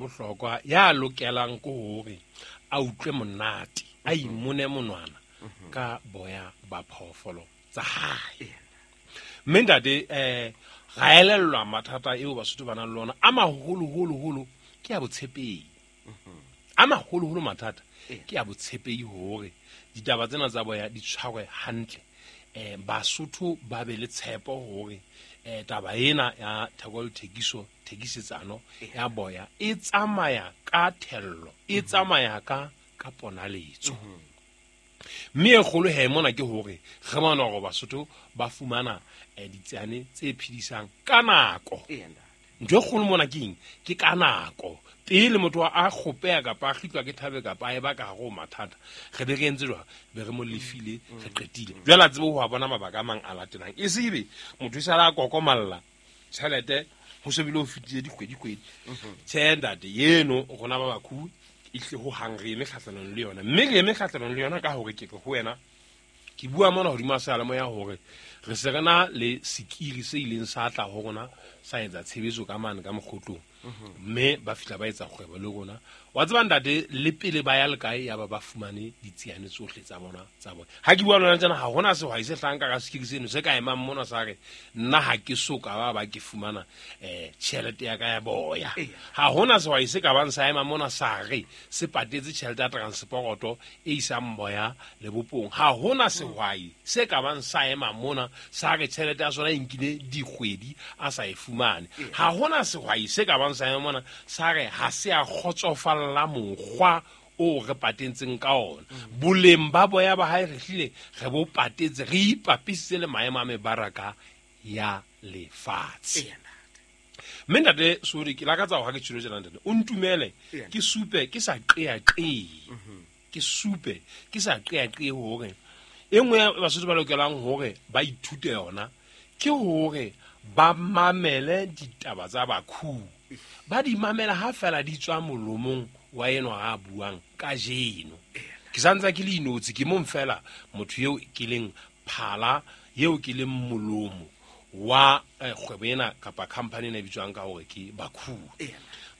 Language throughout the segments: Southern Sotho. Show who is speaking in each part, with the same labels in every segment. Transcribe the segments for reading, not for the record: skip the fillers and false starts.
Speaker 1: Bohlokwa ya lokelang ke hore a utlwe monate, a imone monwana ka boya ba phoofolo tsa hae. Mme ntate, ra elellwa mathata eo Basotho ba nang le ona a maholoholo-holo ke ya botshepehi. A maholoholo mathata ke ya botshepehi hore ditaba tsena tsa boya di tshwarwe hantle. Basotho ba be le tshepo hore taba ena ya theko le thekiso, thekisetsano ya boya e tsamaya ka thello, e tsamaya ka ponaletso. Mme e kgolo he mona ke hore re bona hore Basotho ba fumana ditsiane tse phedisang ka nako. Ntho e kgolo mona ke eng? Ke ka nako. Pele motho a kgopeha kapa a kgitlwa ke thabe kapa a eba ka hare ho mathata, re be re entse jwang? Be re mo lefile, re qetile. Jwale a tsebe ho a bona mabaka a mang a latelang. E se ebe motho e sala a kokomalla tjhelete ho se bile ho fetile dikgwedi-kgwedi. Tjhe ntate, eno rona ba bakhu ehlile ho hang re eme kgahlanong le yona. Mme re eme kgahlanong le yona ka hore ke re ho wena, ke bua mona hodima seyalemoya hore re se re na le sekiri se ileng sa tla ho rona sa etsa tshebetso ka mane ka mokgotlong. Mme ba fihla ba etsa kgwebo le rona. Wa tseba ntate, le pele ba ya le kae ya ba ba fumane ditsiane tsohle tsa bona tsa bona. Ha ke bua le wena tjena, ha hona sehwai se hlahang ka ka sekiri seno se ka emang mona sa re nna ha ke so ka ba ba ke fumana tjhelete ya ka ya boya. Ha hona sehwai se ka bang sa ema mona sa re se patetse tjhelete ya transporoto e isang boya lebopong. Ha hona sehwai se ka bang sa ema mona sa re tjhelete ya sona e nkile dikgwedi a sa e fumane. Ha hona sehwai se ka bang sa ema mona sa re ha se a kgotsofalla mokgwa o re patentseng ka ona. Boleng ba boya ba hae re hlile re bo patetse, re ipapisitse le maemo a mebaraka ya lefatshe. Mme ntate Sodi, ke lakatsa hore ha ke tjhelo tjena ntate, o ntumele, ke supe ke sa qeaqee. Ke supe ke sa qeaqee hore e nngwe ya Basotho ba lokelang hore ba ithute yona ke hore ba mamele ditaba tsa bakhu. Ba di mamela ha fela di tswa molomong wa enwa a buang kajeno. Ke santsa ke le inotshi, ke mong fela motho eo ke leng phala, eo ke leng molomo wa kgwebo ena kapa company ena e bitswang ka hore ke Bakhu.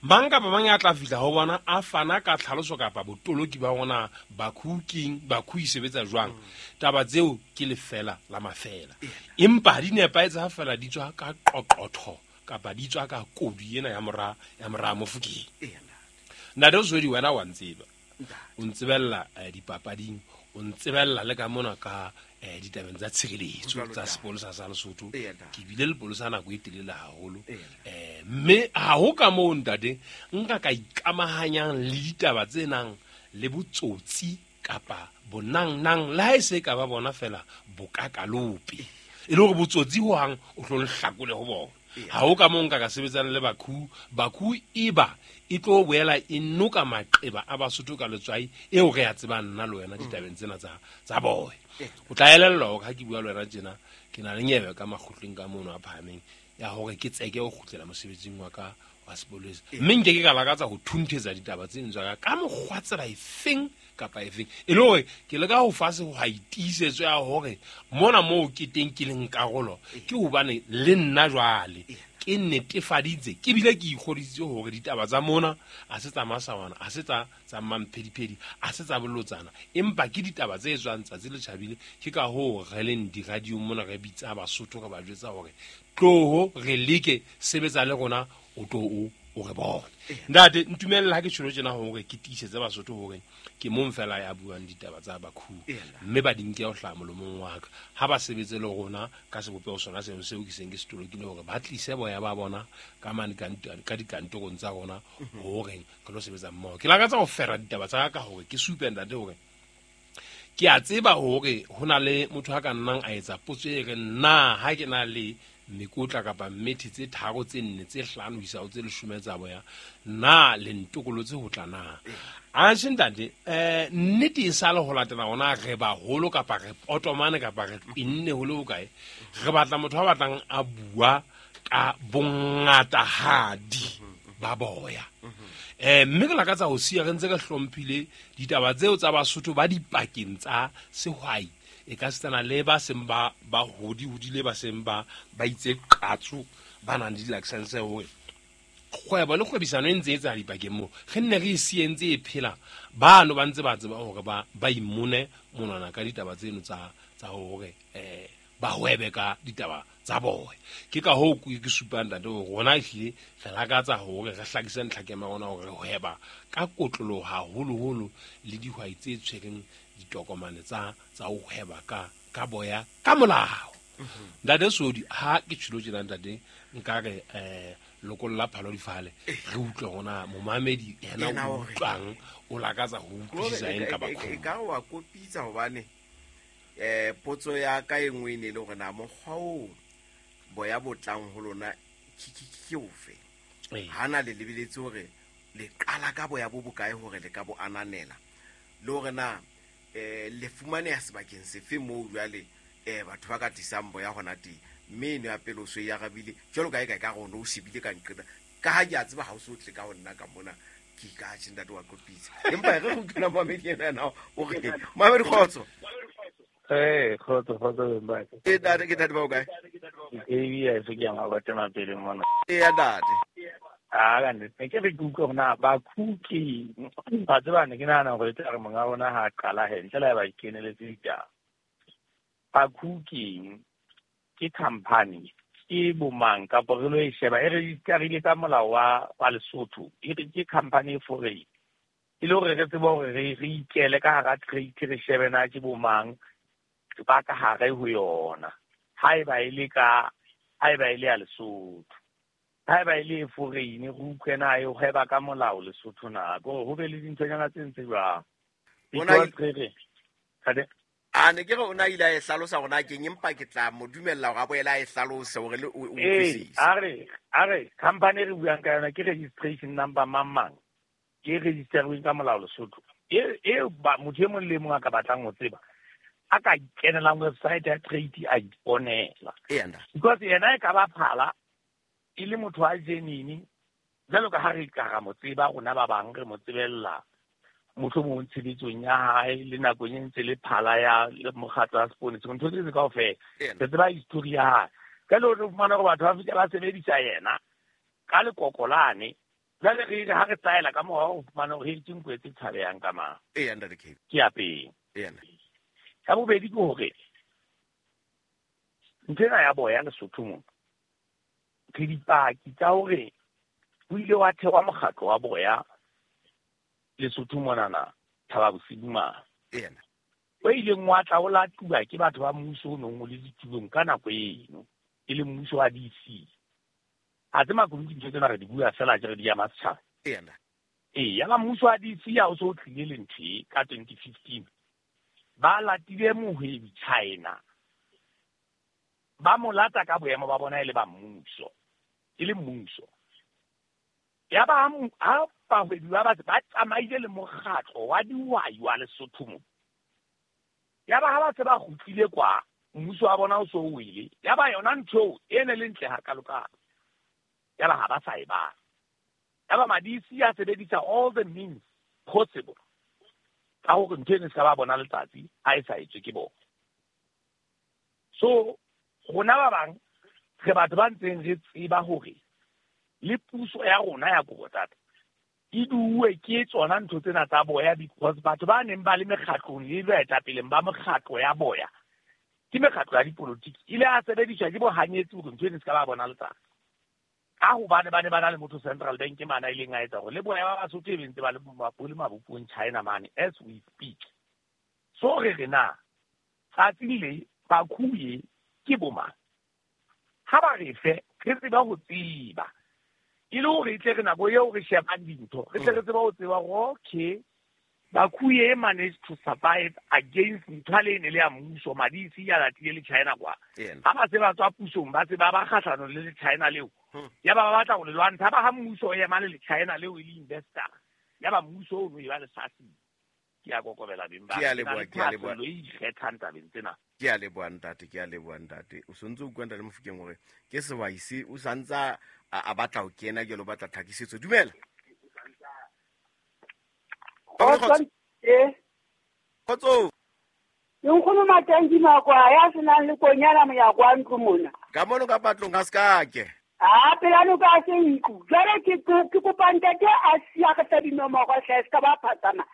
Speaker 1: Mang kapa mang ya tla fihla ho bona a fana ka tlhaloso kapa botoloki ba hona Bakhu keng, Bakhu e sebetsa jwang. Taba tseo ke lefela la mafela. Empa ha di nepahetse ha fela di tswa ka qoqotho kapa di tswa ka kodu ena ya mora, ya mora Mofokeng. Ntate o Zwedi, wena wa ntseba. O ntsebella dipapading, o ntsebella le ka mona ka ditabeng tsa tshireletso tsa sepolesa sa Lesotho. Ke bile lepolesa nako e telele haholo. Mme ha ho ka moo ntate nka ka ikamahanyang le ditaba tse nang le botsotsi kapa bonang-nang, le ha e se ka ba bona fela bokakalope. E le hore botsotsi ho hang o tlo nhlakole ho bona. Ha ho ka moo nka ka sebetsang le Bakhu. Bakhu e ba e tlo boela e noka maqeba a Basotho ka letswai eo re a tsebang nna le wena ditabeng tsena tsa boya. O tla elellwa hore ha ke bua le wena tjena, ke na le nyewe ka makgotleng ka mono a phahameng ya hore ke tseke ho kgutlela mosebetsing wa ka wa sepolesa. Mme nke ke ka lakatsa ho thunthetsa ditaba tse ding tsa ka ka mokgwa tsela efeng kapa efeng. E le hore ke leka ho fa sehwai tiisetso ya hore mona moo ke teng ke leng karolo, ke hobane le nna jwale ke netefaditse, ke bile ke ikgodisitse hore ditaba tsa mona ha se tsa masawana, ha se tsa mamphediphedi, ha se tsa bolotsana, empa ke ditaba tse tswang tsatsi le tjhabile. Ke ka hoo re leng di-radio mona re bitsa Basotho, re ba jwetsa hore tloho re leke sebetsa le rona, o tlo o re bone. Ntate, ntumelle ha ke tjholo tjena hore ke tiisetse Basotho hore ke mong fela ya buang ditaba tsa Bakhu, mme ba di nke ho hlaha molomong wa ka. Ha ba sebetse le rona ka sebopeho sona seno seo ke seng ke se tolokile hore ba tlise boya ba bona ka mane ka dikantorong tsa rona hore re lo sebetsa mmoho. Ke lakatsa ho fera ditaba tsa ka hore ke supe ntate hore ke a tseba hore ho na le motho a ka nnang a etsa potso e reng na ha ke na le mekotla kapa mmethe tse tharo, tse nne, tse hlano ho isa ho tse leshome tsa boya, na le ntokolotse ho tla na? Atjhe ntate, nnete e sale ho latela hona re baholo kapa re potomane kapa re qinne ho le hokae, re batla motho a batlang a bua ka bongatahadi ba boya. Mme ke lakatsa ho siya re ntse re hlomphile ditaba tseo tsa Basotho ba dipakeng tsa sehwai, e ka setsana le ba seng ba hodi hodile, ba seng ba itse qatso, ba nang le di-license hore Kgwebo le kgwebisano e ntse e etsahala dipakeng moo, re nne re e siye ntse e phela. Bano ba ntse ba tseba hore ba imone monwana ka ditaba tseno tsa hore ba hwebe ka ditaba tsa boya. Ke ka hoo ke supang ntate hore rona ehlile re lakatsa hore re hlakise ntlhakemo ya rona hore re hweba ka kotloloho haholoholo le dihwai tse tshwereng ditokomane tsa ho hweba ka boya ka molao. Ntate Sodi, ha ke tjhilo tjena ntate, nka re lokolla phalo difale, re utlwe hore momamedi yena o utlwang, o lakatsa ho utlwisisa eng ka bakgoni.
Speaker 2: E ka re wa kopitsa hobane potso ya ka e nngwe e ne e le hore na mokgwa oo boya bo tlang ho lona ke ofe? Ha na le lebeletse hore le qala ka boya bo bokae hore le ka bo ananela, le hore na le fumaneha sebakeng sefe moo jwale batho ba ka tlisang boya hona teng. Mme eno ya pele o so e arabile jwalo ka e ka ka rona o shebile ka nqena, ka ha ke a tseba ha o so tle ka ho nna ka mona ke ka tjhe ntate wa kopitsa. Empa re re utlwela moamedi ena yena o re moamedi kgotso.
Speaker 3: Kgotso, kgotso beng ba ka.
Speaker 2: E ntate, ke ntate ba o kae?
Speaker 3: Ke ya se ke ya mabathe mapele mona.
Speaker 2: E ya ntate.
Speaker 3: A ka nnete, ke re ke utlwe hore na Bakhu ke ba tseba, ne ke nahana hore e tla re monga rona ha a qala he ntle le ha ba ikeneletse ditaba. Bakhu keng? Ke company, ke bomang kapa re lo e sheba e registerile ka molao wa Lesotho, e re ke company e foreign, e le hore re tsebe hore re ikele ka hara trade, re shebe na ke bomang ba ka hare ho yona. Haeba e le ka, haeba e le ya Lesotho, haeba e le e foreign, re utlwe na e hweba ka molao Lesotho na, ke hore ho be le dinthonyana tse ntse jwang. Because re re, Ade?
Speaker 2: A ne ke re o na ile a e hlalosa hore na keng, empa ke tla mo dumella hore a boele a e hlalose hore le o utlwisise.
Speaker 3: A re company e re buang ka yona ke registration number mang mang, ke registerweng ka molao Lesotho, e ba motho e mong le e mong a ka batlang ho tseba a ka kenelang website ya trade a iponela.
Speaker 2: Eya ntate.
Speaker 3: Because yena e ka ba phala e le motho wa genuine, jwalo ka ha re ka ra mo tseba rona ba bang, re mo tsebella mohlomong tshebetsong ya hae le nakong e ntse le phala ya le mokgatlo wa seponesa, ntho tse kaofela re tseba history ya hae. Ka le re fumana hore batho ba fihla ba sebedisa yena ka lekoko lane, jwale re re ha re tsaela ka mora ho fumana hore ke nko tse tshabehang ka mang.
Speaker 2: Eya ntate K.
Speaker 3: Ke ya pele.
Speaker 2: Eya ntate.
Speaker 3: Ya bobedi ke hore ntho ena ya boya Lesotho mona, re dipaki tsa hore ho ile wa thehwa mokgatlo wa boya Lesotho monana Thaba Bosiu mane,
Speaker 2: Eya ntate.
Speaker 3: o ileng wa tla o latuwa ke batho ba mmuso o nong o le ditulong ka nako eno, e leng mmuso wa DC. A tse makunutu dintho tsena re di bua fela ke re di ama setjhaba.
Speaker 2: Eya ntate.
Speaker 3: Ee, yaba mmuso wa DC ha o so o tlile le ntho e ka 2015, ba latile mohwebi China, ba mo lata ka boemo ba bona e le ba mmuso, e le mmuso. Ya ba ha bahwebi ba ba tsamaile le mokgatlo wa dihwai wa Lesotho mo. Ya ba ha ba se ba kgutlile kwa, mmuso wa bona o so o wele. Ya ba yona ntho eo e ne le ntle hakalokalo. Ya ba ha ba sa e batla. Ya ba madisi a sebedisa all the means possible ka hore ntho eno e se ka ba bona letsatsi ha e sa etswe ke bona. So rona ba bang re batho ba ntseng re tseba hore le puso ya rona ya Kobotsata e duwe ke tsona ntho tsena tsa boya, because batho ba neng ba le mekgatlong le baetapeleng ba mekgatlo ya boya ke mekgatlo ya dipolotiki, ile a sebediswa ke bohanyetsi hore ntho eno e se ka ba bona letsatsi, ka hobane ba ne ba na le motho Central Bank mane a ileng a etsa hore le boya ba Basotho e be ntse ba le bo le mabopong China mane as we speak. So re re na tsatsing le Bakhuye ke bomang, ha ba re fe re tseba ho tseba, e le hore e tle re nako eo re shebang dintho re tle re tsebe ho tseba hore okay, Bakhuye managed to survive against ntho le ne le ya mmuso, madisi ya latile le China kwa.
Speaker 2: Eya.
Speaker 3: Ha ba se ba tswa pusong, ba se ba ba kgahlanong le le China leo, ya ba ba batla ho le lwantsha, ba ha mmuso o ema le le China leo e le investor, ya ba mmuso o no e ba le sasi. Ke a kokobela beng ba
Speaker 2: Ke a
Speaker 3: ka. Ke na
Speaker 2: leboha,
Speaker 3: le
Speaker 2: ke a leboha.
Speaker 3: thahasello e ikgethang tabeng tsena.
Speaker 2: Ke a leboha ntate, ke a leboha ntate. O sontse o bua ntate Mofokeng hore ke sehwai se o santsa a batla ho kena jwalo, o batla tlhakisetso. Dumela.
Speaker 4: Kgotso.
Speaker 2: Kgotso.
Speaker 4: Ke nkgono Matanki Makwa ya senang le konyana monyako wa ntlo mona.
Speaker 2: Ka mono ka patlong ha se ka ke.
Speaker 4: A pela noka se ntlo. Jwale ke kopa ntate a siya re fe dinomoro hle se ka ba phatsama.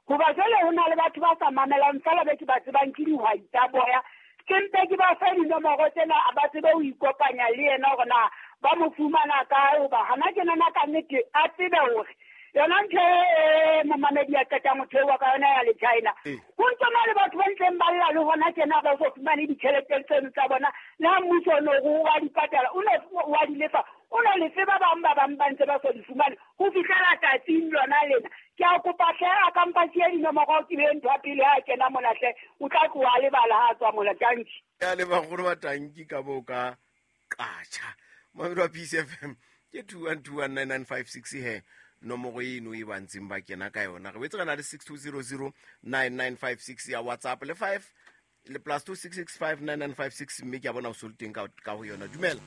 Speaker 4: Hoba jwale ho na le batho ba sa mamelang feela be ke ba tsebang ke dihwai tsa boya. Ke mpe ke ba fe dinomoro tsena a ba tsebe ho ikopanya le yena hore na ba mo fumana kae, hoba hana ke nana ka nnete a tsebe hore yona ntho e momamedi a qetang ho theoha ka yona ya le China. Ho ntso na le batho ba ntseng ba lla le hona tjena ba so fumane ditjhelete tseno tsa bona. Le ha mmuso o no o wa di patala, o no wa di lefa, o no lefe ba bang ba bang ba ntse ba so di fumane ho fihlela tsatsing lona lena. Ke a kopa hle a ka mpa siya dinomoro ke be ntho ya pele ha kena mona hle, o tla tloha a lebala ha a tswa mona. Tanki.
Speaker 2: Ya le bagolo ba tanki ka bo ka qatjha. Mamedi wa Peace FM ke 21219956 he nomoro eno e ba ntseng ba kena ka yona. Re boetse re na le 62009956 ya WhatsApp le 5 le plus 26659956, mme ke a bona o so le teng ka ho yona. Dumela.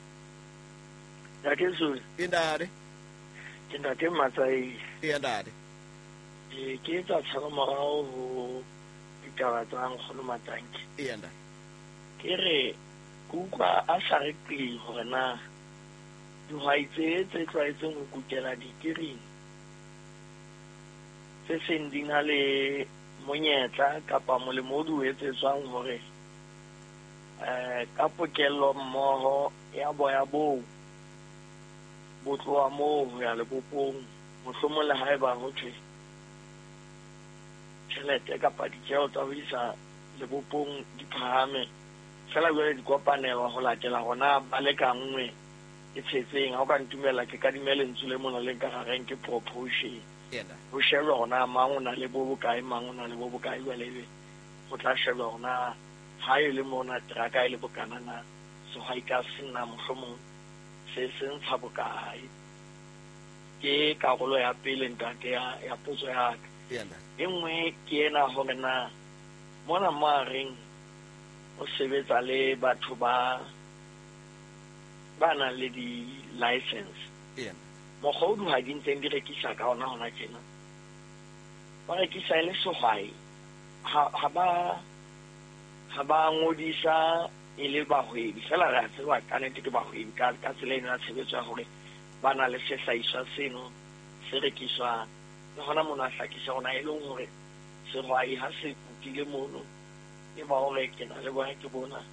Speaker 5: Ntate Zulu.
Speaker 2: E ntate.
Speaker 5: Ke ntate Matsai.
Speaker 2: E ntate.
Speaker 5: Ke etsa tshalo morao ho ditaba tsa Nkgono Matanki.
Speaker 2: E ntate.
Speaker 5: Ke re ke utlwa a sa re qi hore na dihwai tse tse tlwaetseng ho kutela dikiring tse seng di na le monyetla kapa molemo o di o etsetswang hore ka pokello mmoho ya boya boo bo tloha moo ho ya lebopong, mohlomong le haeba ho thwe tjhelete kapa ditjeo tsa ho isa lebopong di phahame, fela jwale di kopanelwa ho latela hona ba le ka nngwe e tshetseng. Ha o ka ntumella ke kadime lentswe le mona le nka reng ke proportion. Ho shebwa hore na mang o na le bo bokae, mang o na le bo bokae, jwale ebe ho tla shebwa hore na ha e le mona teraka e le bokana na sehwai ka sena mohlomong se se ntsha bokae. Ke karolo ya pele ntate ya potso ya ka. E nngwe ke ena hore na mona mo a reng o sebetsa le batho ba nang le di-license. Mokgwa o dihwai di ntseng di rekisa ka ona hona tjena, ba rekisa e le sehwai, ha ba ngodisa e le bahwebi fela. Re a tseba ka nnete ke bahwebi ka tsela eno ya tshebetso ya hore ba na le sehlahiswa seno se rekiswang. Le hona mono a hlakisa hona e leng hore sehwai ha se kutile mono e ba hore ke na le bona ke bona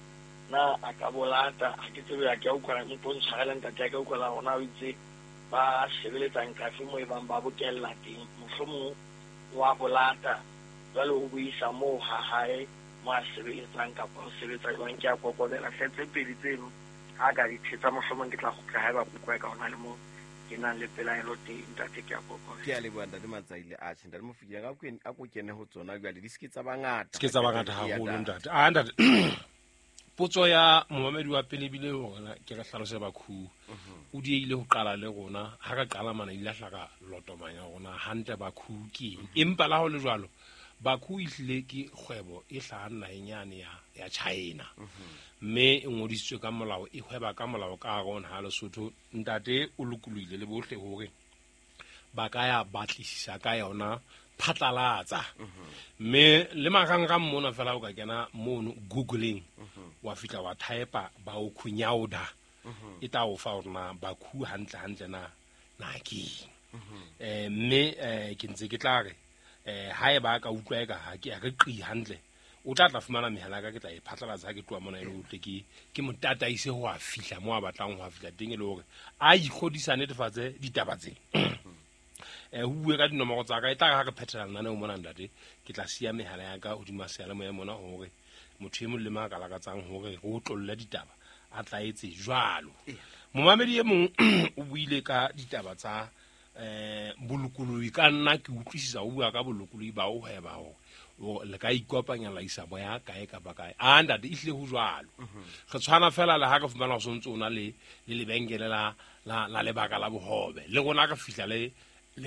Speaker 5: na a ka bolata. Ha ke tsebe, ha ke a utlwa mpo ntshwarele ntate, ha ke a utlwa hona o itse ba sebeletsang kafe moo e bang ba bokella teng, mohlomong wa bolata jwale o buisa moo ha hae mo a sebeletsang kapa ho sebetsa jwang. Ke a kokobela hle tse pedi tseno ha ka di thetsa, mohlomong ke tla kgutla haeba kutlwa ka hona le moo ke nang le pelaelo teng ntate. Ke a kokobela.
Speaker 2: Ke a leboha ntate Matsaile. Atjhe ntate Mofokeng, a ko kene ho tsona jwale, di se ke tsa bangata.
Speaker 1: Se ke tsa bangata haholo ntate. A ntate, potso ya momamedi wa pele bile hore ke re hlalose bakhu. O diehile ho qala le rona, ha ka qala mana ile hlaka lotomanya rona hantle bakhu ke eng. Empa la ho le jwalo, bakhu e hlile ke kgwebo e hlahang naheng yane ya China. Mme e ngodisitswe ka molao, e hweba ka molao ka hare ho naha Lesotho. Ntate o lokolohile le bohle hore ba ka ya batlisisa ka yona phatlalatsa. Mme le marangrang mona fela o ka kena mono googling, wa fihla wa type ba o khunyauda, e tla o fa hore na bakhu hantle hantle na ke eng. Mme ke ntse ke tla re haeba ka utlwa eka ha ke re qi hantle, o tla fumana mehala ka ke tla e phatlalatsa ha ke tloha mona e le hore ke motataise ho a fihla mo a batlang ho a fihla teng, e le hore a ikgodisa netefatse ditaba tsena. Ho bue ka dinomoro tsa ka, e tla ha re phethela lenaneo mona ntate, ke tla siya mehala ya ka hodima seyalemoya mona hore motho e mong le mang a ka lakatsang hore re otlolle ditaba a tla etse jwalo. Momamedi e mong o buile ka ditaba tsa bolokolohi. Ka nna ke utlwisisa o bua ka bolokolohi ba ho hweba hore le ka ikopanya la isa boya kae kapa kae. A ntate, e hlile ho jwalo. Re tshwana fela le ha re fumana ho sontso o na le lebenkele la lebaka la bohobe. Le rona re fihla le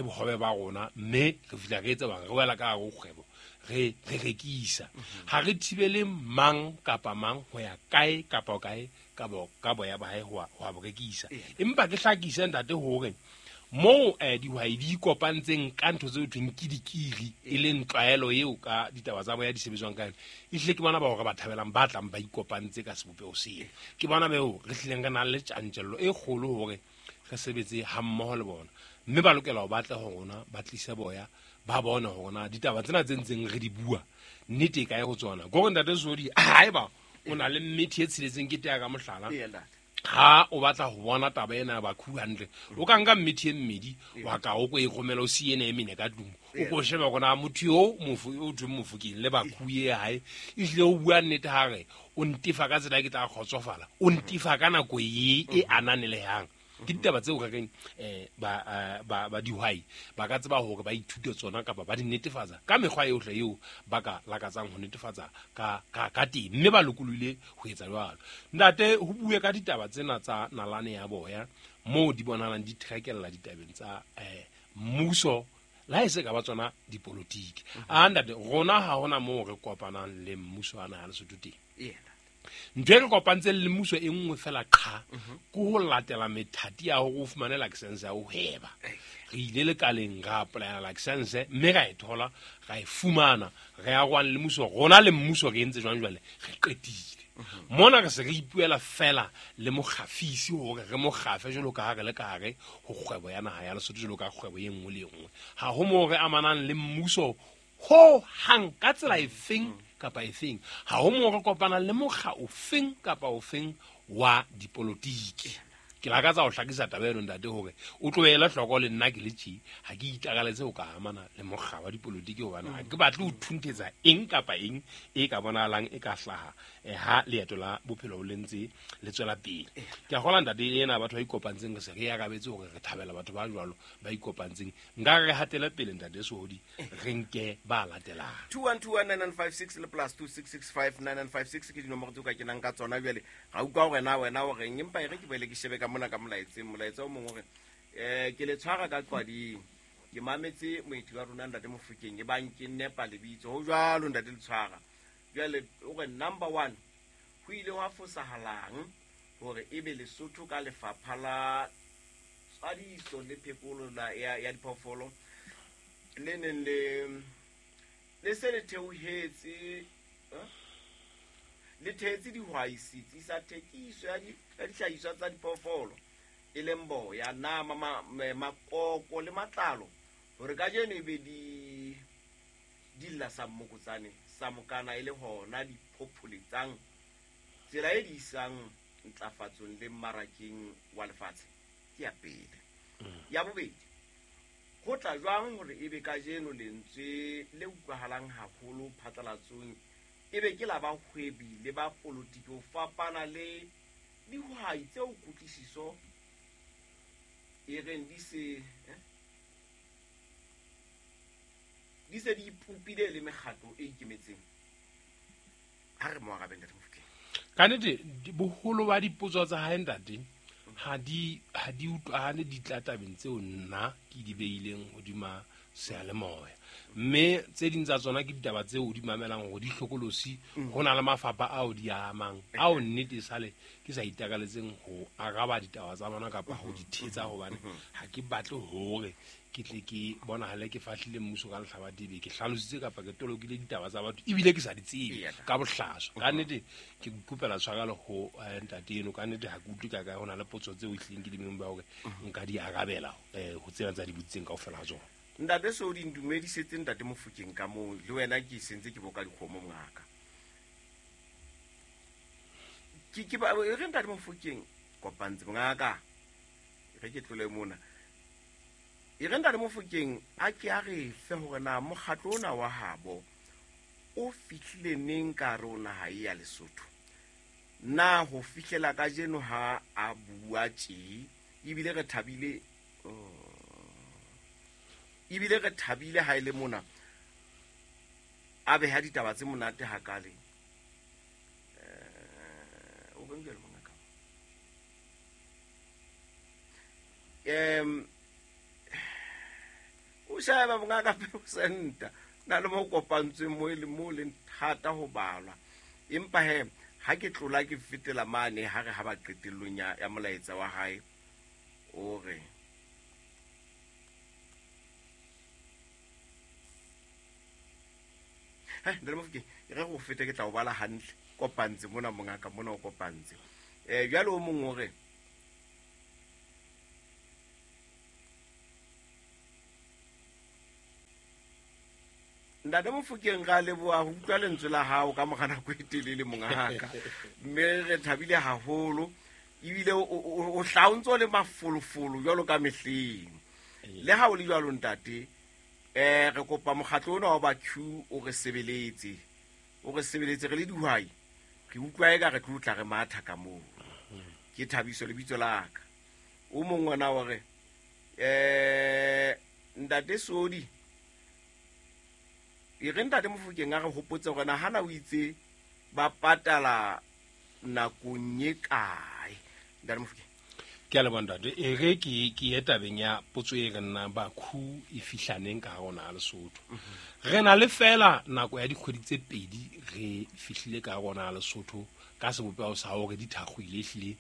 Speaker 1: bohobe ba rona, mme re fihla re etsa bang re wela ka hare ho kgwebo, re rekisa. Ha re thibele mang kapa mang ho ya kae kapa kae ka boya ba hae ho a bo rekisa. Empa ke hlakise ntate hore Moo dihwai di ikopantseng ka ntho tseo thweng ke dikiri, e leng tlwaelo eo ka ditaba tsa boya di sebetswang ka yona, ehlile ke bona bao re ba thabelang, ba tlang ba ikopantse ka sebopeho seo. Ke bona beo re hlileng re nang le tjantjello e kgolo hore re sebetse hammoho le bona, mme ba lokela ho batla ho rona, ba tlise boya, ba bone hore na ditaba tsena tse ntseng re di bua nnete e kae ho tsona. Ke hore ntate Sodi, haeba o na le mmethi e tsheletseng ke tea ka mohlala, ha o batla ho bona taba ena ya bakhu hantle, o ka nka mmethi e mmedi wa ka o ko e romela o siye ena e mene ka tlung, o ko shebe hore na motho eo mofu o thweng Mofokeng le bakhu e hae ehlile o bua nnete ha re o ntefa ka tsela e ke tla kgotsofala, o ntefa ka nako e e ananelehang. Ke ditaba tseo re reng ba dihwai ba ka tseba hore ba ithute tsona kapa ba di netefatsa ka mekgwa yohle eo ba ka lakatsang ho netefatsa ka teng, mme ba lokolohile ho etsa jwalo. Ntate, ho bue ka ditaba tsena tsa nalane ya boya moo di bonahalang di threkella ditabeng tsa mmuso, le ha e se ka ba tsona dipolotiki. A ntate, rona ha hona moo re kopanang le mmuso wa naha Lesotho teng. Ntho e re kopantseng le mmuso e nngwe fela qha, ke ho latela methati ya hore o fumane license ya ho hweba. Re ile lekaleng ra apply-ela license, mme ra e thola, ra e fumana, re arohane le mmuso. Rona le mmuso re entse jwang jwale? Re qetile. Mona re se re ipuela fela le mokgafisi hore re mo kgafe jwalo ka ha re le ka hare ho kgwebo ya naha ya Lesotho, jwalo ka kgwebo e nngwe le e nngwe. Ha ho moo re amanang le mmuso ho hang ka tsela efeng kapa efeng. Ha ho moo re kopanang le mokga ofeng kapa ofeng wa dipolotiki. Ke lakatsa ho hlakisa taba eno ntate hore o tlohele hloko le nna ke le tje, ha ke itakaletse ho ka amana le mokga wa dipolotiki hobane ha ke batle ho thunthetsa eng kapa eng e ka bonahalang e ka hlaha ha leeto la bophelo le ntse le tswela pele. Ke a kgolwa ntate ena batho ba ikopantseng re se re arabetse hore re thabela batho ba jwalo ba ikopantseng. Nka re hatele pele ntate Sehodi, re nke ba latelang.
Speaker 2: 21219956 le plus 26659956 ke dinomoro tseo ka kenang ka tsona jwale. Ra utlwa hore na wena o reng, empa e re ke boele ke shebe ka mona ka molaetseng. Molaetsa o mong o re, ke le tshwara ka qwading, ke mametse moeti wa rona ntate Mofokeng, e bang ke nepa lebitso. Ho jwalo ntate le tshwara. Jwale o re number 1, ho ile hwa fosahalang hore ebe Lesotho ka lefapha la tswadiso le phekolo ya diphoofolo le neng le se le theohetse, le thehetse dihwai setsi sa thekiso ya dihlahiswa tsa diphoofolo, e leng boya, nama, makoko le matlalo, hore kajeno e be di lla sa mmokotsane sa mokana e le hona di phopholetsang tsela e di isang ntlafatsong le mmarakeng wa lefatshe. Ke ya pele. Ya bobedi, ho tla jwang hore ebe kajeno lentswe le utlwahalang haholo phatlalatsong ebe ke la bahwebi le ba polotiki ho fapana le dihwai tseo kutlwisiso e reng di se di ipopile le mekgatlo e ikemetseng? Ha re mo arabe ntate Mofokeng.
Speaker 1: Ka nnete, boholo ba dipotso tsa hae ntate ha di utlwahale di tla tabeng tseo nna ke di beileng hodima seyalemoya, mme tse ding tsa tsona ke ditaba tseo o di mamelang hore di hlokolosi. Ho na le mafapha ao di amang, ao nnete sale ke sa itakaletseng ho araba ditaba tsa bona kapa ho di thetsa, hobane ha ke batle hore ke tle ke bonahale ke fahlile mmuso ka lehlaba dibe, ke hlalositse kapa ke tolokile ditaba tsa batho ebile ke sa di tsebe ka bohlaswa. Ka nnete ke kopela tshwarelo ho ntate eno, ka nnete ha ke utlwe ka kae ho na le potso tseo ehlileng ke di meng ba hore nka di arabela ho tsena tsa di botsitseng kaofela ha tsona.
Speaker 2: Ntate Sodi, ntumedisetse ntate Mofokeng ka moo, le wena ke sentse ke boka dikgomo mongaka. Ke ba e re ntate Mofokeng kopantse mongaka, re ke tlole mona. E re ntate Mofokeng a ke a re fe hore na mokgatlo ona wa habo o fihlile neng ka hare ho naha e ya Lesotho. Na ho fihlela kajeno ha a bua tje, ebile re thabile, ebile re thabile ha e le mona a beha ditaba tse monate hakale. O reng jwale mongaka? O sheba mongaka percent na le mo kopantsweng mo e leng mo leng thata ho balwa. Empa he ha ke tlola ke fetela mane ha re ha ba qetellong ya molaetsa wa hae, o re Ntate Mofokeng, re go fete ke tla o bala hantle kopantse mona mongaka mona o kopantse. Jwale o mong o re Ntate Mofokeng ra leboha ho utlwa lentswe la hao ka mora nako e telele mongaka. Mme re thabile haholo ebile o hla o ntso le mafolofolo jwalo ka mehleng. Le ha o le jwalo ntate, re kopa mokgatlo ona wa ba Q o re sebeletse. O re sebeletse re le dihwai. Re utlwa eka re tlo tla re matha ka moo. Ke Thabiso lebitso la ka. O mong ona o re Ntate Sodi, e re Ntate Mofokeng a re hopotse hore na hana o itse ba patala nakong e kae. Ntate Mofokeng.
Speaker 1: Ke a leboha ntate. E re ke ye tabeng ya potso e re nna ba khu e fihlaneng ka hare ho naha Lesotho. Re na le fela nako ya dikgwedi tse pedi re fihlile ka hare ho naha Lesotho ka sebopeho sa hore di thakgoile ehlile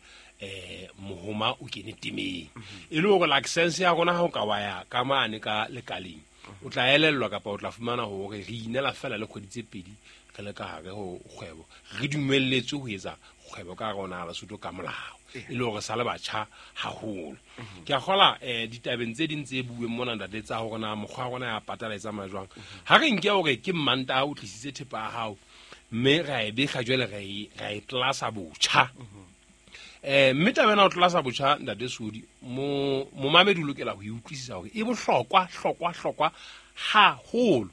Speaker 1: mohoma o kene temeng. E le hore license ya rona ha o ka wa ya ka mane ka lekaleng, o tla elellwa kapa o tla fumana hore re inela fela le kgwedi tse pedi re le ka hare ho kgwebo. Re dumelletswe ho etsa kgwebo ka hare ho naha Lesotho ka molao. E le hore sa le batjha haholo. Ke a kgola ditabeng tse ding tse bueng mona ntate tsa hore na mokgwa wa rona ya patala e tsamaya jwang. Ha re nke hore ke Mmantaha o tlisitse thepa ya hao mme ra e bekga jwale ra e tlasa botjha. Mme taba ena ho tlasa botjha ntate Sodi, momamedi o lokela ho e utlwisisa hore e bohlokwa hlokwa hlokwa haholo.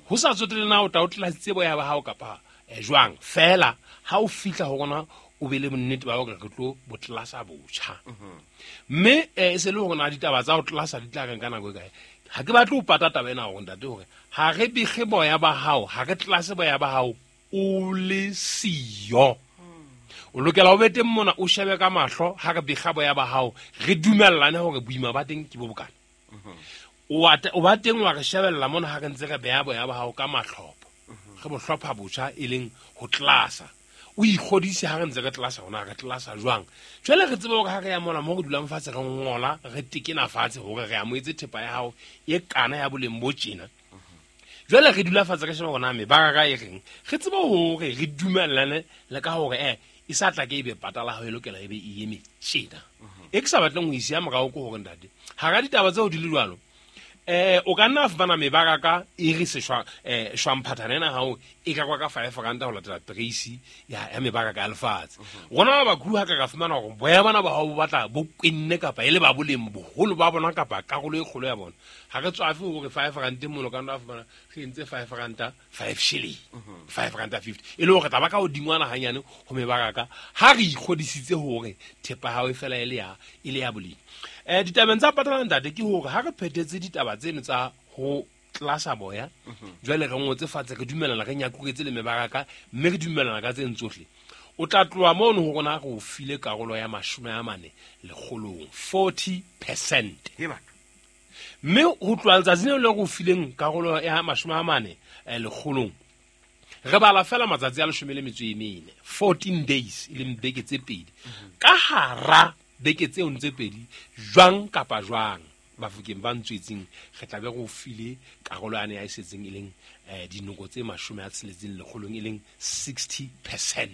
Speaker 1: Ho sa tsotelle na o tla o tlasitse boya ba hao kapa jwang, fela ha o fihla ho rona o be le bonnete ba hore re tlo bo tlasa botjha. Mme e se le hore na ditaba tsa ho tlasa di tla reng ka nako e kae. Ha ke batle ho pata taba ena hore ntate hore ha re bekge boya ba hao, ha re tlase boya ba hao o le siyo. O lokela o be teng mona o shebe ka mahlo ha re bekga boya ba hao, re dumellane hore boima ba teng ke bo bokana. O ba teng wa re shebella mona ha re ntse re beha boya ba hao ka mahlopho. Re bo hlopha botjha e leng ho tlasa. O ikgodise ha re ntse re tlasa hona re tlasa jwang. Jwale re tsebe hore ha re ya mona mo re dulang fatshe re ngola, re tekena fatshe hore re amohetse thepa ya hao e kana ya boleng bo tjena. Jwale re dula fatshe re sheba hore na mebaraka e reng. Re tsebe hore re dumellane le ka hore e sa tla ke ebe patala hao e lokela ebe e eme tjena. E ke sa batleng ho isiya morao ke hore ntate, hara ditaba tseo di le jwalo, o ka nna fumana mebaraka e re seshwa shwamphathana ena hao e ka kwa ka 5 rand ho latela price ya mebaraka ya lefatshe. Rona ba bakhu ha ka fumana hore boya bana ba hao bo batla bo kwenne kapa e le ba boleng boholo ba bona kapa karolo e kgolo ya bona. Ha re tswafe hore 5 rand mono ka nna fumana re entse 5 rand 5 shilling, 5 rand 50. E le hore taba ka hodingwana hanyane ho mebaraka ha re ikgodisitse hore thepa hao e fela e le ya boleng. Ditabeng tsa patala ntate ke hore ha re phethetse ditaba tseno tsa ho tlasa boya, jwale re ngotse fatshe re dumellana re nyakuretse le mebaraka mme re dumellana ka tseno tsohle. O tla tloha mono ho rona re o file karolo ya 40 lekgolong, 40%. Mme ho tloha letsatsing leo le re o fileng karolo ya 40 lekgolong, re bala fela matsatsi a 14, 14 days e leng beke tse pedi. Ka hara beke tseo ntse pedi jwang kapa jwang Bafokeng ba ntswetseng re tla be re o file karolo yane ya e setseng e leng dinoko tse 60 lekgolong e leng 60%.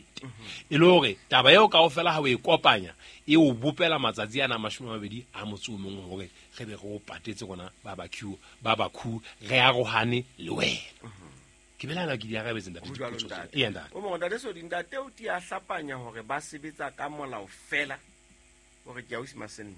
Speaker 1: E le hore taba eo kaofela ha o e kopanya e o bopela matsatsi ana 21 hore re be re o patetse rona ba bakhu re arohane le wena. Ke belaela ke di arabetse ntate dipotso tsena. Ee ntate.
Speaker 2: O mongwe ntate Sodi, ntate o tia hlapanya hore ba sebetsa ka molao fela hore ke ausi Masentle.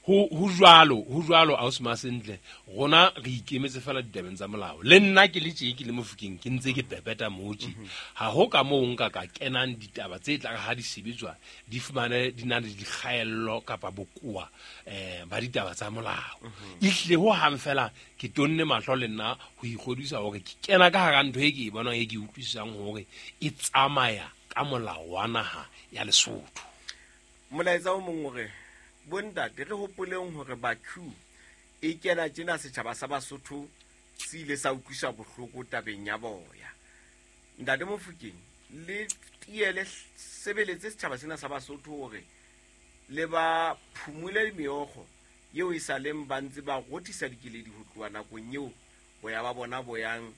Speaker 1: Ho jwalo ausi Masentle, rona re ikemetse fela ditabeng tsa molao. Le nna ke le tje ke le Mofokeng ke ntse ke pepeta motji. Ha ho ka moo nka ka kenang ditaba tse tla ha di sebetswa di fumane di na le dikgaello kapa bokoa ba ditaba tsa molao. Ehlile ho hang fela ke tonne mahlo le nna ho ikgodisa hore ke kena ka hara ntho e ke e bonang e ke utlwisisang hore e tsamaya ka molao wa naha ya Lesotho.
Speaker 2: Molaetsa o mong hore bontate re hopoleng hore Bakhu e kena tjena setjhaba sa Basotho se ile sa utlwiswa bohloko tabeng ya boya. Ntate Mofokeng, le tiele sebeletse setjhaba sena sa Basotho hore le ba phumule meokgo eo e sa leng ba ntse ba rothisa dikeledi ho tloha nakong eo boya ba bona boyang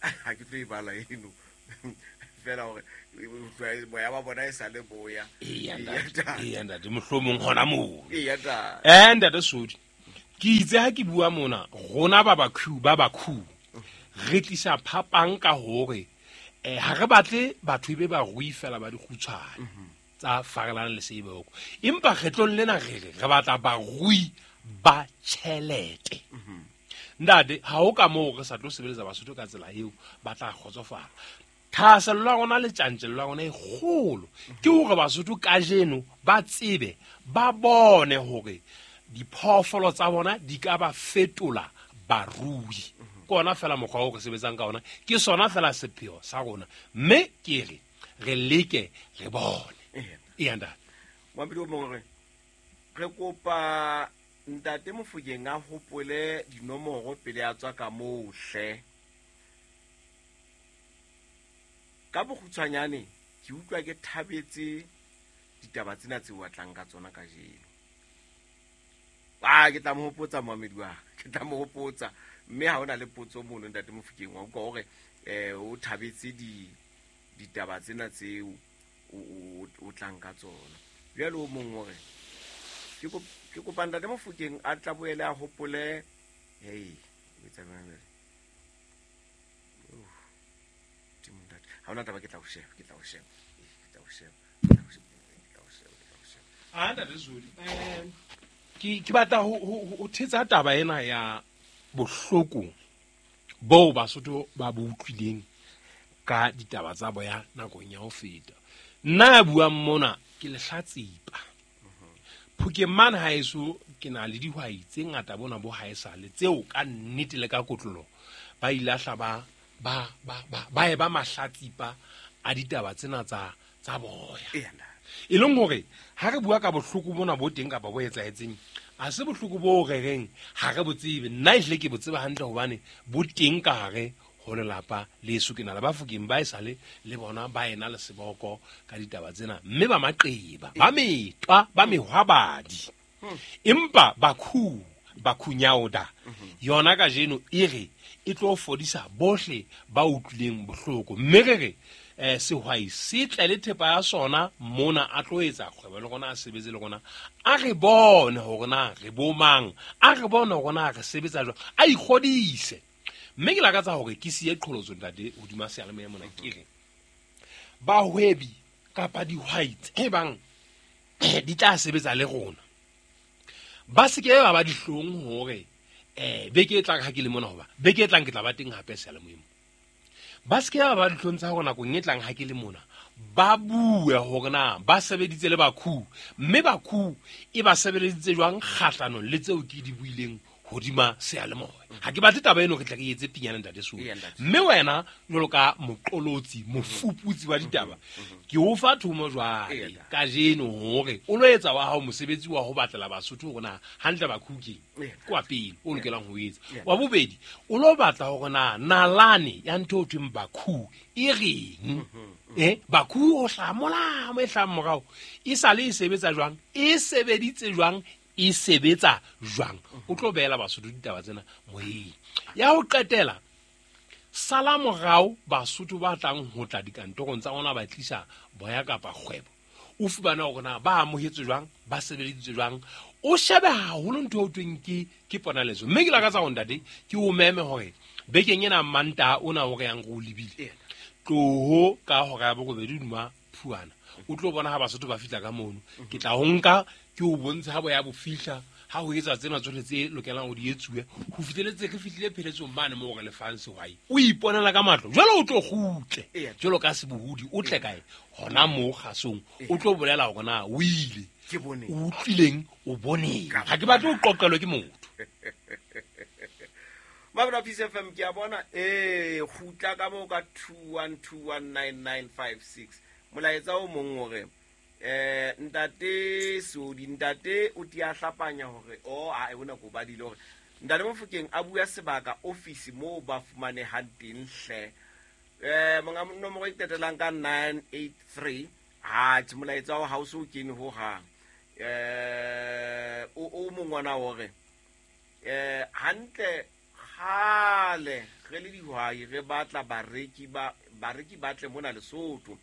Speaker 2: Ha ke tlo e bala eno fela hore boya ba bona e sa le boya.
Speaker 1: Eya ntate, mohlomong hona moo.
Speaker 2: Eya ntate.
Speaker 1: Ntate Sodi, ke itse ha ke bua mona rona ba bakhu re tlisa phapang ka hore ha re batle batho be ba rui fela ba dikgutshwane tsa farelang le seboko, empa kgetlong lena re re batla barui ba tjhelete. Ntate, ha o ka moo re sa tlo sebeletsa Basotho ka tsela eo ba tla kgotsofala. Thahasello ya rona le tjantjello ya rona e kgolo ke hore Basotho kajeno ba tsebe, ba bone hore diphoofolo tsa bona di ka ba fetola barui. Ke ona fela mokgwa o re sebetsang ka ona, ke sona fela sepheo sa rona, mme ke re re leke re bone. Eya ntate.
Speaker 2: Moamedi o mongwe re kopa ntate Mofokeng a hopole dinomoro pele a tswa ka moo hle. Ka bokgutshwanyane ke utlwa ke thabetse ditaba tsena tseo a tlang ka tsona kajeno. Ke tla mo hopotsa moamedi wa ka, ke tla mo hopotsa. Mme ha hona le potso mono ntate Mofokeng wa utlwa hore o thabetse ditaba tsena tseo o tlang ka tsona. Jwale o mong hore ke kopa ntate Mofokeng a tla boele a hopole. Hei, o etsa jwang jwale? Ha hona taba, ke tla o sheba, ke tla o sheba, ke tla o sheba, ke tla o sheba, ke tla o sheba.
Speaker 1: Ntate Sodi, ke batla ho thetsa taba ena ya bohloko boo Basotho ba bo utlwileng ka ditaba tsa boya nakong ya ho feta. Nna ya buang mona ke lehlatsipa. Phokeng mane haeso ke na le dihwai tse ngata bona bo haesale tseo ka nnete le ka kotlolo ba ilahla ba e ba mahlatsipa a ditaba tsena tsa boya. E leng hore ha re bua ka bohloko bona bo teng kapa bo etsahetseng, a se bohloko bo re reng ha re bo tsebe. Nna ehlile ke bo tseba hantle hobane bo teng ka hare ho lelapa leso. Ke na le Bafokeng ba esale le bona ba ena le seboko ka ditaba tsena, mme ba maqeba, ba metwa, ba mehwabadi. Empa bakhunyauda yona kajeno e re e tlo fodisa bohle ba utlwileng bohloko. Mme re re sehwai se tle le thepa ya sona mona, a tlo etsa kgwebo le rona, a sebetse le rona, a re bone hore na re bo mang, a re bone hore na re sebetsa jwang, a ikgodise. Mme ke lakatsa hore ke siye qholotso ntate hodima seyalemoya mona, ke re bahwebi kapa dihwai tse bang di tla sebetsa le rona ba se ke ba ba dihlong hore beke e tlang ha ke le mona, hoba beke e tlang ke tla ba teng hape seyalemoyeng. Ba se ke ba ba dihlong tsa hore nakong e tlang ha ke le mona ba bue hore na ba sebeditse le bakhu, mme bakhu e ba sebeleditse jwang kgahlanong le tseo ke di buileng hodima seyalemoya. Ha ke batle taba eno re tla re etse pinyana ntate Sodi. Mme wena jwalo ka moqolotsi, mofuputsi wa ditaba, ke o fa thomo jwale kajeno hore o lo etsa wa hao mosebetsi wa ho batlela Basotho hore na hantle bakhu keng kwa pele o lokelang ho etsa. Wa bobedi, o lo batla hore na nalane ya ntho o thweng bakhu e reng. Bakhu o hlaha mo e hlahang morao e sale e sebetsa jwang, e sebeditse jwang, e sebetsa jwang. O tlo beela Basotho ditaba tsena moyeng. Ya ho qetela, sala morao Basotho ba tlang ho tla dikantorong tsa rona ba tlisa boya kapa kgwebo, o fumane hore na ba amohetswe jwang, ba sebeleditswe jwang. O shebe haholo ntho eo thweng ke ponaletso. Mme ke lakatsa hore ntate ke o meme hore bekeng ena Mantaha ona o re yang re o lebile, tloho ka hora ya borobedi hodima phuana, o tlo bona ha Basotho ba fihla ka mono. Ke tla ho nka ke o bontshe ha boya bo fihla, ha ho etsa tsena tsohle tse lokelang ho di etsuwe, ho fihleletse re fihlile pheletsong mane moo re lefang sehwai. O iponela ka matlo jwale, o tlo kgutle jwalo ka sebohodi, o tle kae hona moo kgasong, o tlo bolela hore na o ile, o utlwileng, o boneng. Ha ke batle ho qoqelwe ke motho.
Speaker 2: Mabra Peace FM ke a bona kgutla ka moo ka 21219956. Molaetsa o mong hore ntate Sodi, ntate o tia hlapanya hore a bona ko badile hore ntate Mofokeng a bua sebaka office moo ba fumanehang teng hle. Monga nomoro e qetellang ka 983. Ha tjhe, molaetsa wa hao so kene ho hang. O mongwana hore hantle Kgale re le dihwai re batla bareki ba tle mona Lesotho.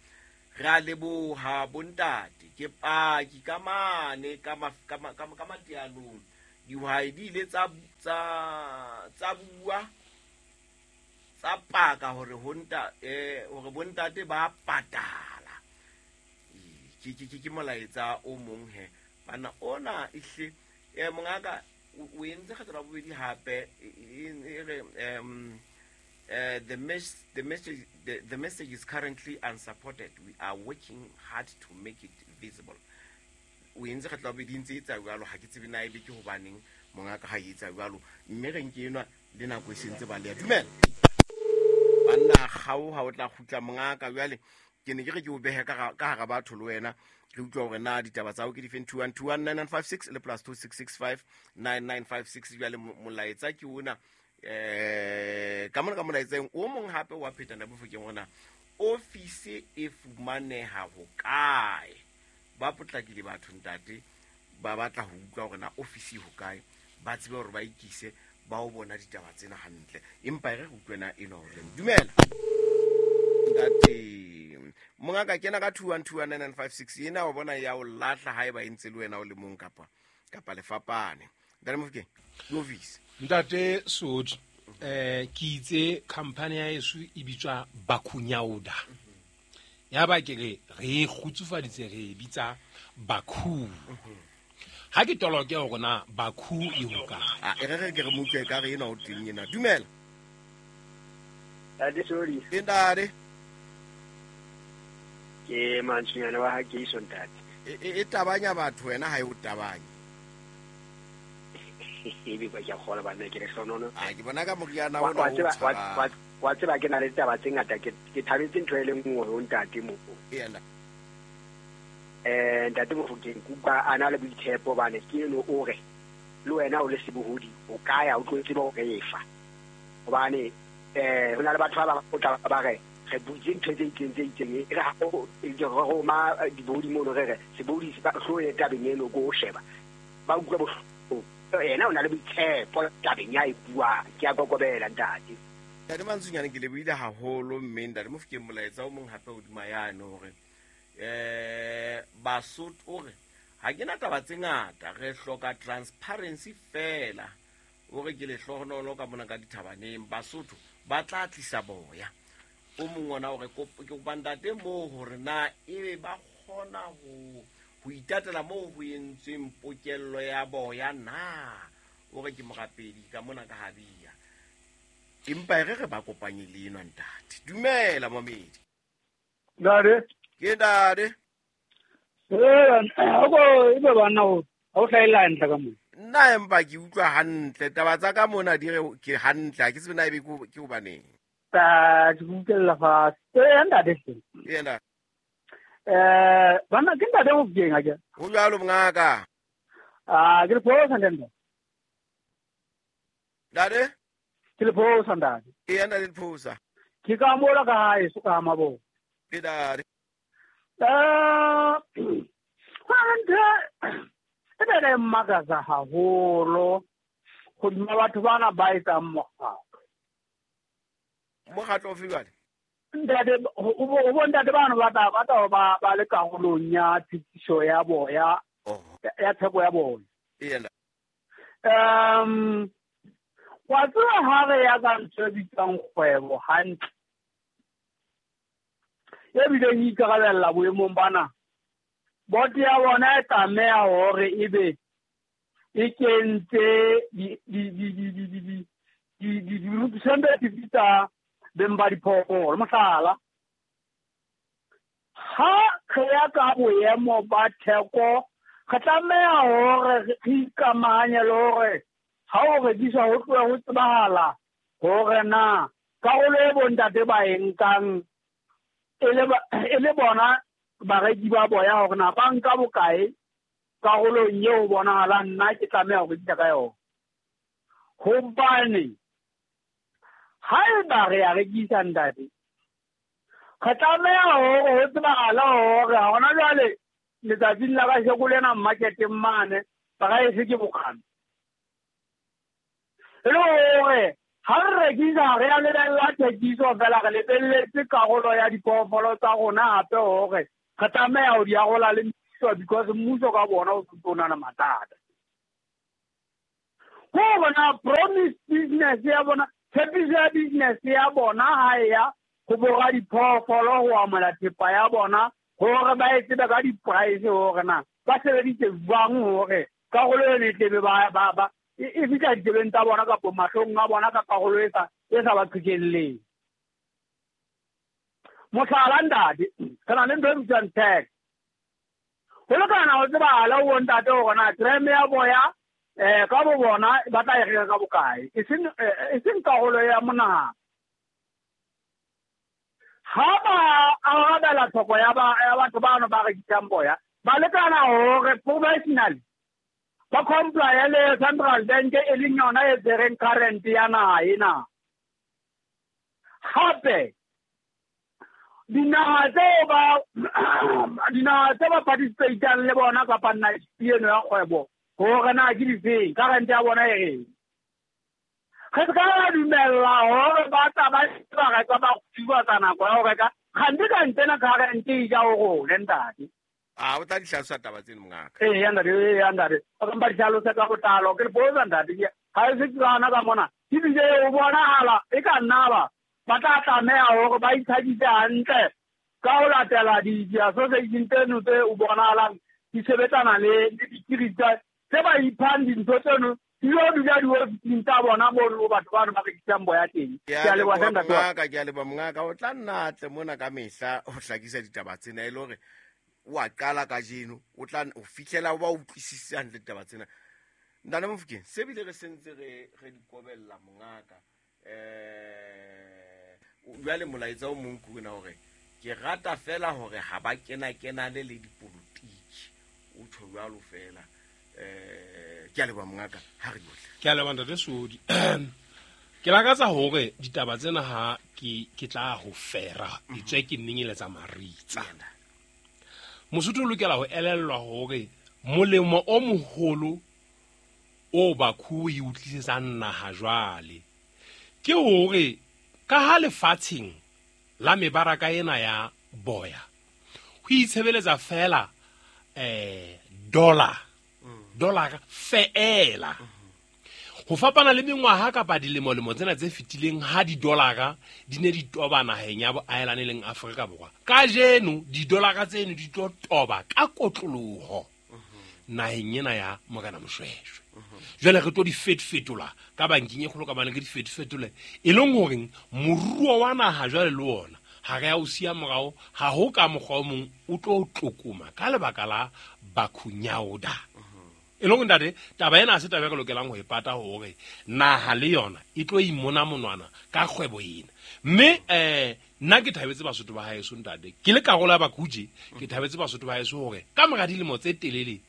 Speaker 2: Re a leboha bontate, ke paki ka mane ka matianong. Dihwai di ile tsa bua tsa paka hore hore bontate ba patala. Ke molaetsa o mong he bana ona ehle mongaka o entse kgetho la bobedi hape e re the message is currently unsupported. We are working hard to make it visible. O entse kgetho la bobedi ntse e tsa jwalo, ha ke tsebe na ebe ke hobaneng mongaka ha e etsa jwalo, mme re nke enwa le nako e sentse ba le dumela banna gao ha o tla kgutla mongaka. Jwale ke ne ke re ke o behe ka hara batho le wena re utlwa hore na ditaba tsa hao ke difeng. 21219956 le plus 26659956. Jwale molaetsa ke ona ka mona ka molaetseng o mong hape wa pheta na bofokeng ona office e fumaneha ho kae. Ba potlakile batho ntate, ba batla ho utlwa hore na office ho kae, ba tsebe hore ba ikise ba o bona ditaba tsena hantle. Empa re utlwe na eno hore dumela ntate mongaka kena ka 21219956 ena wa bona ya o lahla haeba e ntse le wena o le mong kapa lefapane. Ntate Mofokeng, office
Speaker 1: ntate Sotho, ke itse company ya heso e bitswa Bakhunyauda. Ya ba ke re re kgutsufaditse re bitsa Bakhu. Ha ke toloke hore na Bakhu e ho kae.
Speaker 2: E re ke re mo utlwe ka re ena o teng ena. Dumela
Speaker 6: Ntate Sodi.
Speaker 2: Ntate
Speaker 6: ke mantswenyana wa ha ke iso ntate.
Speaker 2: E tabanya batho wena ha e o tabanye.
Speaker 6: Ebe ba ke kgola bana ke le hlonono.
Speaker 2: A ke bona ka moriana ona o tshaba.
Speaker 6: Wa tseba ke na le taba tse ngata, ke thabetse ntho e le nngwe ho ntate mo.
Speaker 2: Yena.
Speaker 6: Ntate Mofokeng kuka a na le boitshepo bane ke eno o re le wena o le sebohodi o kaya o tlo tseba hore efa. Hobane ho na le batho ba bang o tla ba re re butse ntho tse itseng e re ha o re roma dibohodi mono re re sebohodi se hlo e tabeng eno ko o sheba. Ba utlwa bohloko. Yena o na le boitshepo tabeng ya e buang, ke a kokobela ntate.
Speaker 2: Ntate Mantsonyane ke lebohile haholo, mme ntate Mofokeng molaetsa o mong hape hodima yane hore Basotho o re ha ke na taba tse ngata, re hloka transparency fela. O re ke lehlohonolo ka mona ka dithabaneng, Basotho ba tla tlisa boya. O mong ona o re ke kopa ntate moo hore na ebe ba kgona ho itatela moo ho entsweng pokello ya boya na. O re ke morapedi ka mona ka Habia. Empa re re ba kopanye le enwa ntate. Dumela momedi.
Speaker 7: Ntate.
Speaker 2: Ke ntate.
Speaker 7: Ebe bana o ha o hlaela hantle ka mona.
Speaker 2: Nna empa ke utlwa hantle taba tsa ka mona di re ke hantle, ha ke tsebe na ebe ke hobaneng.
Speaker 7: Ta ke utlwella fatshe. Ntate hle.
Speaker 2: Yena.
Speaker 7: Bana ke ntate Mofokeng a ke.
Speaker 2: Ho jwalo mongaka.
Speaker 7: Ah, ke le phosa ntate.
Speaker 2: Ntate?
Speaker 7: Ke le phosa ntate.
Speaker 2: Ee ntate le phosa.
Speaker 7: Ke ka mola ka hae so ka mabo.
Speaker 2: Ke ntate.
Speaker 7: Ntho e be mmakatsa haholo hodima batho bana ba etsang mokgatlo.
Speaker 2: Mokgatlo ofe jwale?
Speaker 7: Ntate o bo ntate bana ba tla ba le karolong ya tshitiso ya boya ya theko ya bona.
Speaker 2: Yena.
Speaker 7: Wa tseba ha re ya ka ntho e bitswang kgwebo hantle, e bileng e ikarabella boemong bana, boto ya bona e tlameha hore ebe e kentse di-representative tsa beng ba diphoofolo. Mohlala, ha re ya ka boemo ba theko, re tlameha hore re ikamahanye le hore ha o rekiswa ho tloha ho tsebahala hore na karolo e bontate ba e nkang e le bona bareki ba boya hore na ba nka bokae karolong eo bonahalang nna ke tlameha ho rekisa ka yona. Hobane haeba re ya rekisa ntate, re tlameha hore ho tsebahale hore hona jwale letsatsing la kasheko lena marketeng mane price ke bokana. E le hore Ha re rekisa re a lebella thekiso fela, re lebelletse karolo ya diphoofolo tsa rona hape hore re tlameha ho di arola le mmuso, because mmuso ka bona o o na le mathata. Ko bona promise business ya bona, tshepiso ya business ya bona ha e ya ho bora diphoofolo ho amohela thepa ya bona, hore ba e tsebe ka di-price hore na ba sebeditse jwang hore karolo eno e tlebe ba e fihla ditsebeng tsa bona kapa mahlong a bona ka karolo e sa ba qhekelleng. Mohlala ntate, re na le ntho e bitswang tax. Ho lekana ho tsebahala ho ntate hore na gram ya boya ka bo bona ba tla e reka ka bokae, e seng karolo ya monahano. Ha ba arabela tlhoko ya batho bano ba rekisang boya, ba lekana hore professionally ba comply le Central Bank e leng yona e tshwereng current ya naha ena. Hape dinaha tseo ba participatang le bona kapa eno ya kgwebo hore na ke difeng, current ya bona e reng. Re se ka ra dumella hore ba tla ba reka ba kgutsufatsa nako ya ho reka, kgante ka ntsena current e ja ho rona ntate.
Speaker 2: A o tla di hlalosa taba tseno mongaka?
Speaker 7: Ee, ntate. O ka mpa di hlalosa ka botlalo. Ke le botsa ntate, ha e se ke gana ka mona. Ebile o bonahala e ka nna ba tla tlameha hore ba itlhakise hantle ka ho latela di-association tseno tse o bonahalang di sebetsana le dikiri tse ba iphang dintho tseno di yo dula diofising tsa bona mono batho bano ba rekisang boya teng.
Speaker 2: Ke a leboha mongaka, ke a leboha mongaka. O tla nna atle mona ka mehla ho hlakisa ditaba tsena e le hore wa qala kajeno, o tla o fihlela o ba utlwisise hantle ditaba tsena. Ntate Mofokeng, se bile re sentse re di kobella mongaka. Jwale molaetsa o mong ke ona hore ke rata fela hore ha ba kena-kenane le dipolotiki. O tjho jwalo fela. Ke a leboha mongaka, ha re yohle.
Speaker 1: Ke a leboha ntate Sodi. Ke lakatsa hore ditaba tsena ha ke tla ho fera, etswe ke nnenyeletsa maritsa. Mosotho o lokela ho elellwa hore molemo o moholo o Bakhu e utlisetsang naha jwale ke hore ka ha lefatsheng la mebaraka ena ya boya ho itshebeletsa fela dollar feela. Ho fapana le mengwaha kapa dilemo-lemo tsena tse fetileng ha didolara di ne di toba naheng ya boahelane leng Afrika Borwa, kajeno didolara tseno di tlo toba ka kotloloho naheng ena ya Morena Moshoeshoe. Jwale re tlo di fetofetola ka bankeng e kgolo ka bane re di fetofetole, e leng horeng moruo wa naha jwale le ona ha re ya o siya morao, ha ho ka mokgwa o mong o tlo tlokoma ka lebaka la Bakhunyauda. E leng ntate, taba ena ha se taba e re lokelang ho e pata hore naha le yona e tlo imona monwana ka kgwebo ena. Mme nna ke thabetse Basotho ba haeso ntate, ke le karolo ya Bakhuje, ke thabetse Basotho ba haeso hore ka mora dilemo tse telele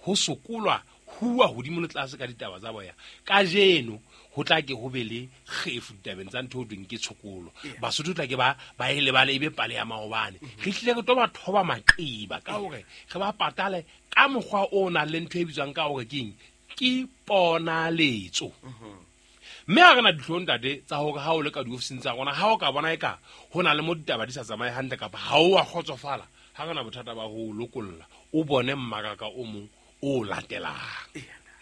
Speaker 1: ho sokolwa huwa hodimo le tlase ka ditaba tsa boya, kajeno ho tla ke ho be le kgefu ditabeng tsa ntho ho thweng ke tshokolo. Basotho tla ke ba e lebale e be pale ya maobane. Re hlile re tlo ba thoba maqeba ka hore re ba patale ka mokgwa o nang le ntho e bitswang ka hore ke eng, ke ponaletso. Mme ha re na dihlong ntate tsa hore ha o le ka diofising tsa rona, ha o ka bona eka ho na le mo ditaba di sa tsamaye hantle kapa ha o a kgotsofala, ha re na bothata ba ho lokolla, o bone mmaraka o mong o latelang.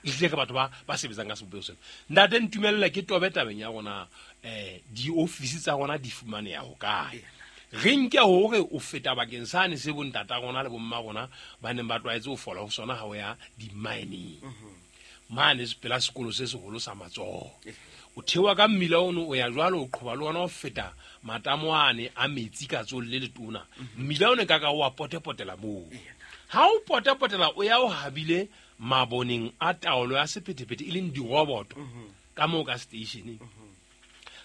Speaker 1: Ehlile ke batho ba sebetsang ka sebopeho sena. Ntate, ntumelle ke tobe tabeng ya rona, diofisi tsa rona di fumaneha hokae? Re nke hore o feta bakeng sane se bontata rona le bomma rona ba neng ba tlwaetse ho fola ho sona ha o ya di-mining. Mane pela sekolo se seholo sa matsoho. O theoha ka mmila ono, o ya jwalo, o qhoba le ona o feta matamo ane a metsi ka tsolle le letona. Mmila ono ka ka o a potepotela moo. Ha o potepotela o ya o habile maboneng a taolo ya sephethephethe e leng diroboto ka moo ka stationeng.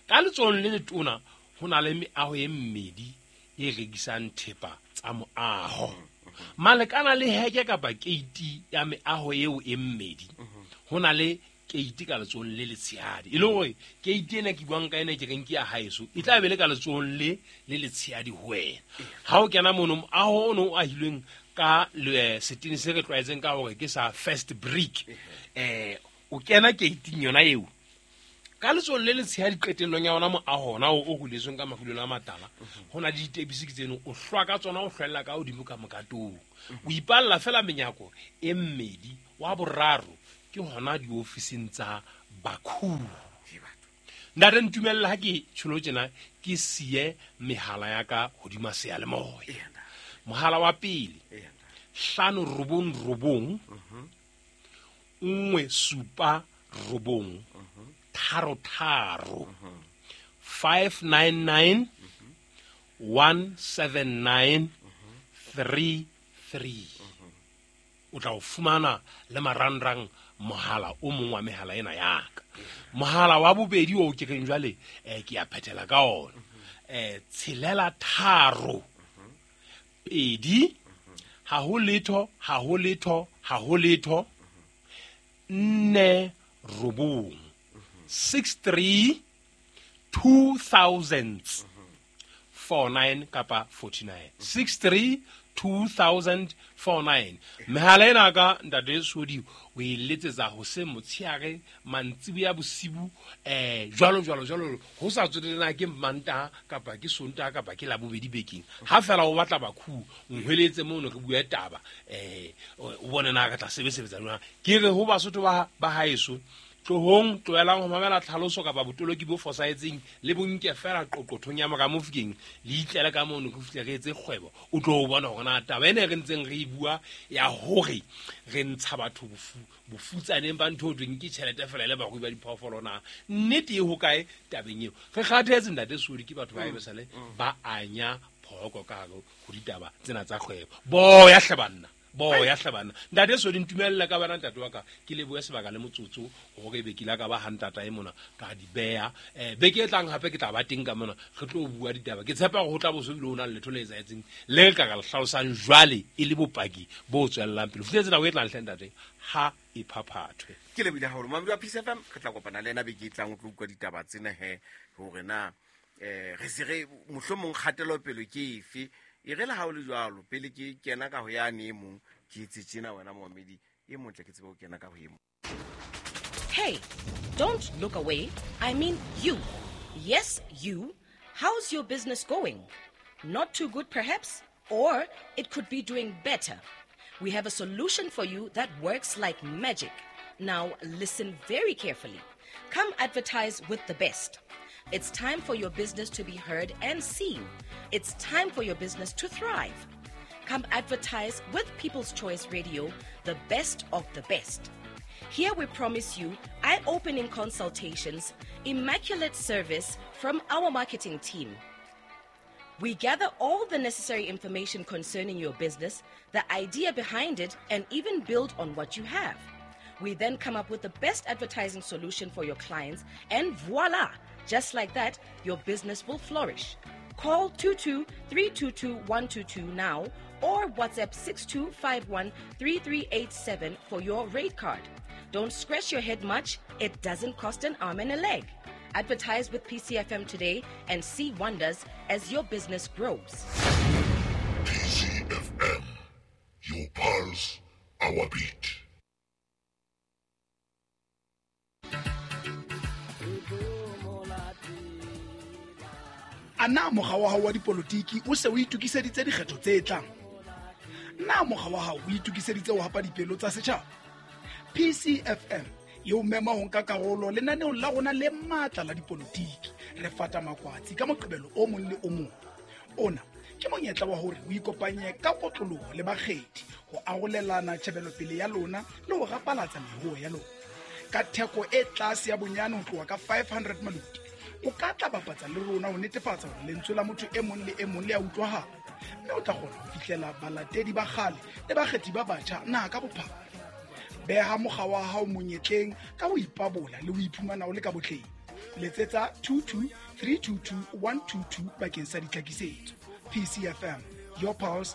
Speaker 1: Ka letsohong le letona ho na le meaho e mmedi e rekisang thepa tsa moaho. Malekana le heke kapa keiti ya meaho eo e mmedi, ho na le keiti ka letsohong le letshehadi. E le hore keiti ena ke buang ka ena ke reng ke ya haeso, e tla be le ka letsohong le letshehadi ho wena. Ha o kena mono, moaho ono o ahilweng ka setene se re tlwaetseng ka hore ke sa first brick. O kena keiting yona eo. Ka letsohong le letshehadi qetellong ya ona moaho ona o huletsweng ka mafulelo a matala, ho na le ditepisi ke tseno, o hlwa ka tsona, o hlwella ka hodimo ka mokatong. O ipalla fela menyako e mmedi, wa boraro ke hona diofising tsa Bakhu. Ntate, ntumelle ha ke tjholo tjena ke siye mehala ya ka hodima seyalemoya. Mohala wa pele, 599 179 33, 599 179 33. O tla o fumana le marangrang mohala o mong wa mehala ena ya ka. Mohala wa bobedi o ke reng jwale, ke a phethela ka ona. 6 3 2 0 0 0 0 0 4 9, 6 3 2000 49 kapa 49, 6 3 2000 49. Mehala ena ka ntate Sodi o e letsetsa hoseng, motshehare, mantsiboya, bosibu, jwalo jwalo jwalo, ho sa tsotellana ke Mantaha kapa ke Sontaha kapa ke Labobedi bekeng. Ha fela o batla Bakhu, nhweletse mono re bue taba, o bone na re tla sebetsa jwang. Ke re ho Basotho ba haeso, tlohong, tlohelang ho mamela tlhaloso kapa botoloki bo fosahetseng, le bonke fela qoqothong ya mora Mofokeng, le itlele ka mono re fihle re etse kgwebo. O tlo bona hore na taba ena e re ntseng re e bua ya hore re ntsha batho bofutsaneng ba ntho ho thweng ke tjhelete fela le barui ba diphoofolo, na nnete e hokae tabeng eo. Re kgathetse ntate Sodi ke batho ba ebesale ba anya phoko ka hare ho ditaba tsena tsa kgwebo. Boya hle banna, boya hle banna. Ntate Sodi, ntumelle ka bana ntate wa ka, ke lebohe sebaka le motsotso hore ebe ke ile ka ba ha ntata e mona ka di beha. Beke e tlang hape ke tla ba teng ka mona, re tlo bua ditaba. Ke tshepa hore ho tla bo so bile ho na le letho le etsahetseng le re ka ka le hlalosang jwale e le bopaki bo tswellang pele. Fihletse nako e tlang hle ntate, ha e phaphathwe.
Speaker 2: Ke lebohile haholo mamedi wa Peace FM. Re tla kopana le ena beke e tlang, o tlo utlwa ditaba tsena he, hore na re se re mohlomong kgatelopele ke efe. E re le ha o le jwalo, pele ke kena ka ho yane e mong, ke etse tjena wena momamedi e motle, ke tsebe ho kena ka ho e mong.
Speaker 8: Hey, don't look away. I mean you. Yes, you. How's your business going? Not too good, perhaps? Or it could be doing better. We have a solution for you that works like magic. Now, listen very carefully. Come advertise with the best. It's time for your business to be heard and seen. It's time for your business to thrive. Come advertise with People's Choice Radio, the best of the best. Here we promise you eye-opening consultations, immaculate service from our marketing team. We gather all the necessary information concerning your business, the idea behind it, and even build on what you have. We then come up with the best advertising solution for your clients, and voila! Just like that, your business will flourish. Call 22 322 122 now or WhatsApp 6251 3387 for your rate card. Don't scratch your head much, it doesn't cost an arm and a leg. Advertise with PCFM today and see wonders as your business grows.
Speaker 9: PCFM, your pulse, our beat.
Speaker 10: A na mokga wa hao wa dipolotiki o se o itokiseditse dikgetho tse tlang? Na mokga wa hao o itokiseditse ho hapa dipelo tsa setjhaba? PCFM e o mema ho nka karolo lenaneong la rona le matla la dipolotiki. Re fata makwatsi ka Moqebelo o mong le o mong. Ona ke monyetla wa hore o ikopanye ka kotloloho le bakgethi ho arolelana tjhebelopele ya lona le ho rapalatsa meruo ya lona. Ka theko e tlase ya bonyane ho tloha ka 500 maluti, o ka tla bapatsa le rona ho netefatsa hore lentswe la motho e mong le e mong le a utlwahala, mme o tla kgona ho fihlela balatedi ba kgale le bakgethi ba batjha naha ka bophara. Beha mokga wa hao monyetleng ka ho ipabola le ho iphumana o le ka botleng. Letsetsa 22 322 122 bakeng sa ditlhakisetso. PCFM, your pulse,